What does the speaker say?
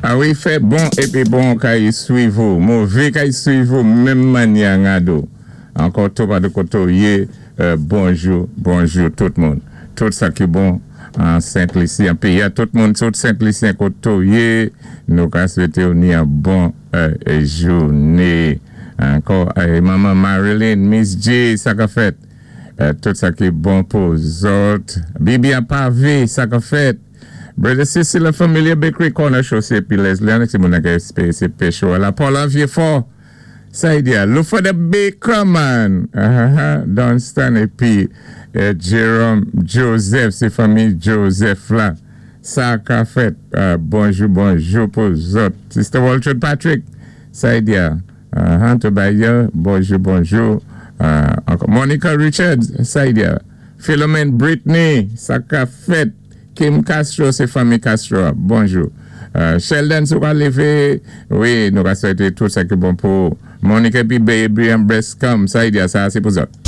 Awi, fè bon épi bon kay swiv ou, mové kay swiv ou menm mannyè an. Ankò tou pa de koté ou yé, bonjou, bonjou tout moun. Tout sa ki bon an Sent Lisi, an péyi a tout moun, tout Sent Lisyen koté ou yé, nou ka swété ou ni an bon jouné. Ankò, manman Marilyn, Miss J, sa ka fèt. Tout sa ki bon pou zòt. Bibi an pavé, sa ka fèt. Brother Sissy, la Familia Bakery, Corner Chaussée, puis Leslie, an ti moun nan se pecho. La Paula Vieux-Fort, sa y di a, look for the baker man. Dunstan épi Jerome Joseph, sé fanmi Joseph la. Sa ka fèt. Bonjou, bonjou pou zòt. Sister Walter Patrick, sa y di a. Tobiah, bonjou, bonjou. Ankò Monica Richards, sa y di a. Philomene Britney, sa ka fèt. Kim Castro, sé fanmi Castro. Bonjou. Sheldon, si ou lévé, wi, nou ka swété tout sa ki bon pou Monica épi Baby and Breastcom, sa y di a, sa sé pou zòt.